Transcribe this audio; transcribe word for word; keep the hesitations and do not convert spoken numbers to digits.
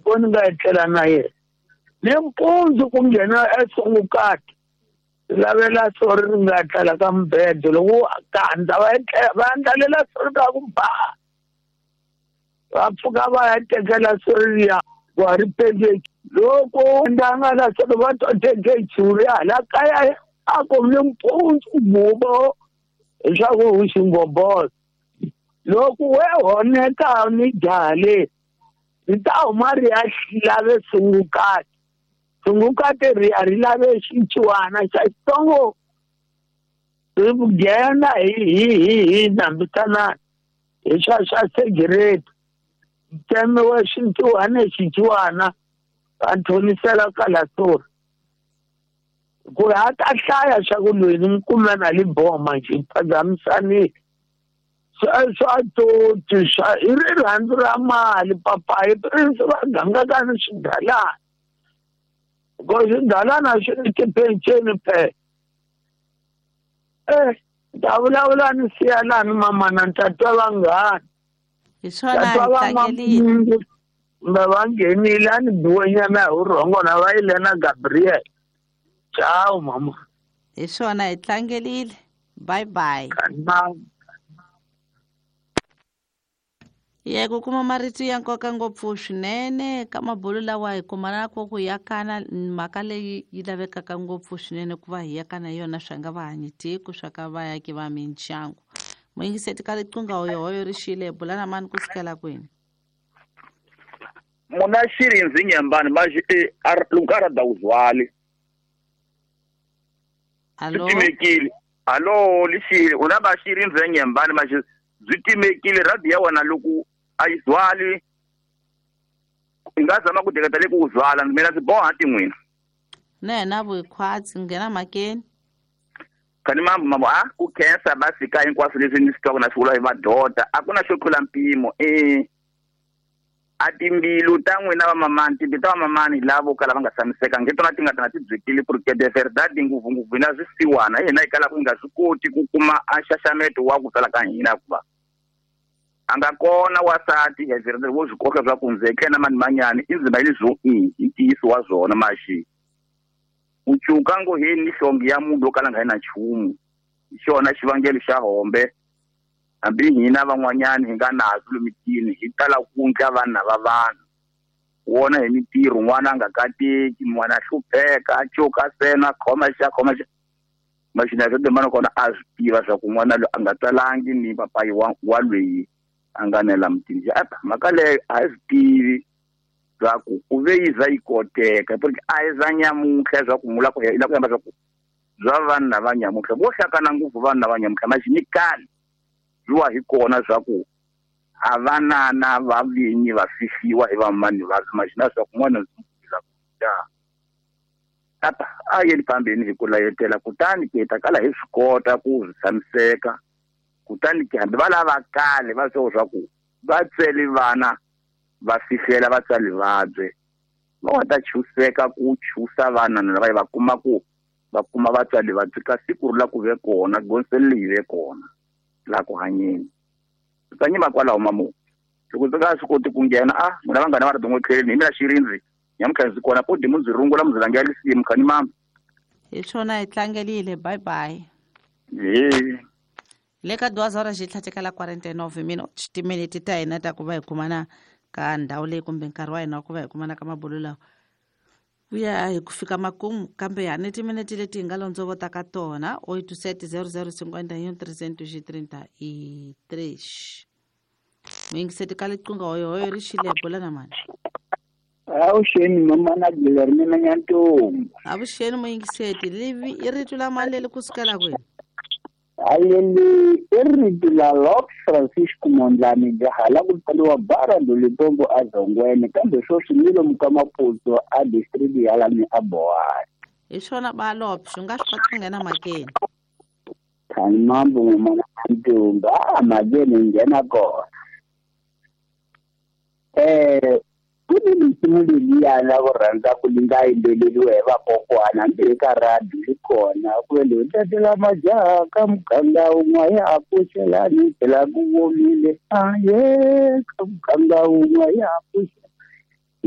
Ko ni nga etlela na yena nimpundzu ku nghena esungukati lavela sori ri nga etlela ka mubedo loko kandza va va endlalela sori ka ku ba va pfuka va ya tekela sori liya wa ri pendeki loko ndanga la sori va to teke churi hala kaya a ku nimpundzu bubo leswaku u xingobolo loko we honeka ni jaha le ri ta huma ri ya lave sungukati sungukati ri ya ri lave xinciwana xa xitsongo ri nghena hi hi hi hi nambitanani hi swa swa segireti tsemiwe xinciwana xinciwana va thonisela kalasori ku ri a ta hlaya swa ku loyi ni n'wi kume na li boma njhe phazamisanile swa toti swa i rirhandzu ra mali papayi prince va gangaka ni swidalana ko swidalana swi ni tipenceni phela eh ta vulavula ni siya lani mamana ni ta twa vanghana hi swona hi tlangelile va va nghenile a ni biwenyana hi vurhongo na va yile na Gabriel. Ciao mama. Hi swona hi tlangelile. Bye bye. Ye ku kuma marito ya nkoka ngopfu swinene ka mabulu lawa hi kumana ku ku yakana mhaka leyi yi lavekaka ngopfu swinene ku va hi yakana yona swa nga va hanyi tiko swa ka vayaki va mindyangu. Muyingiseti ka riqingho hoyohoyo ri xile bula na mani ku sukela kwini? Muna xirinzi nyambani maji e lukara da uzwali. Allo. Timekile. Allo lixile una ba xirinzi nyambani maji byi timekile radio ya wena loko a yi zwali i nga zama ku teketa le ku zwala mina ndzi boha tin'wina na na vukhwatsi nghena mhakeni kani mambo mambo a ku khensa va fika hinkwaswo leswi ni swi twaka na swi vula hi madoda a ku na xo tlula mpimo e a timbilu ta n'wina va mamani timbilu ta va mamani lavo kala va nga tshamiseka nge tona ti nga tana ti byekile ku ri ke de verdade ngopfungopfu hina swisiwana hina hi kalaka hi nga swi koti ku kuma a nxaxameto wa ku tsala ka hina hikuva a nga kona wasati hi verdade wo swi koka swa ku ndzeke na mani manyani i ndzima leswo i i ntiyiso wa swona maxi u cuka ngo hi ni hlongi ya munhu wo kala nga na nchumu hi xona xivangelo xa hombe hambi hina van'wanyani hi nga nazo lomitini hi tala ku ndla vanhu va vanhu wona hi mintirho n'wana a nga kateki n'wana a hlupheka a cuka sena khoma xa khoma xa maxina swo demana kona a swi tiva swa ku n'wana loyi a nga tsalangi ni papayi wa wa loyi a nga nela mutini apa mhaka leyo a hi swi tivi swa ku ku ve yi za yi koteka porque a hi za nyamuntlha swa ku mula ku la ku yamba swa ku bya vanhu lava nyamuntlha vo hlakana ngopfu vanhu lava nyamuntlha maxi ni kale byiwa hi kona swa ku a vanana va vinyi va fihliwa hi vamani va maxina swa ku n'wana ndzi ku apa a yeni phambeni hi ku layetela kutani ke ta kala hi swi kota ku swi tshamiseka kutani ke hambi va lava kale va swo swa ku va tsweli vana va fihlela vatswari vabye va va ta chuseka ku chusa vana lava va kuma ku va kuma vatswari va ka siku ri la ku ve kona gonseli leyi ve kona la ku hanyeni ta nyima kwalaho mamu loko ndzi nga swi koti ku nghena a n'wina vanghana va ri dongo tlheleni hi mina xirindzi nyamuntlha ndzi kona podi mu ndzi rungula mu ndzi langela lisimu khani mama hi swona hi tlangelile bye bye he le ka duas horas xi tlhatekela quarenta e nove minutos timinete ta hina ta ku va hi kumana ka ndhawu leyi kumbe nkarhi wa hina wa ku va hi kumana ka mabulu lawa ku ya hi ku fika makumu kambe ha ni timinete leti hi nga londzovota ka tona oito sete zero zero cinquenta e um trezentos e trinta e três muyingiseti ka liqingho hoyohoyo ri xile bula na mani avuxeni mamana Guilhermina Nyantombi avuxeni muyingiseti livi i rito la mani leri kusukela kwini aleli i rito la Lopes Francisco Mondlane jaha la ku tsaliwa bara Limpopo a Zongweni kambe sweswi ni lomu ka Maputo a district ya lani a Bohani hi swona ba Lopes u nga swi kota ku nghena mhakeni khani mambo mamana Nyantombi a mhakeni nghena kona eh ku ni misimu leliya la ku rhandza ku li nga yimbeleriwa hi vakokwana hambi eka radio yi kona ku le tatela majaha ka muganga wun'we ya pfuxelani phela ku womile aye ka muganga wun'we ya pfuxelani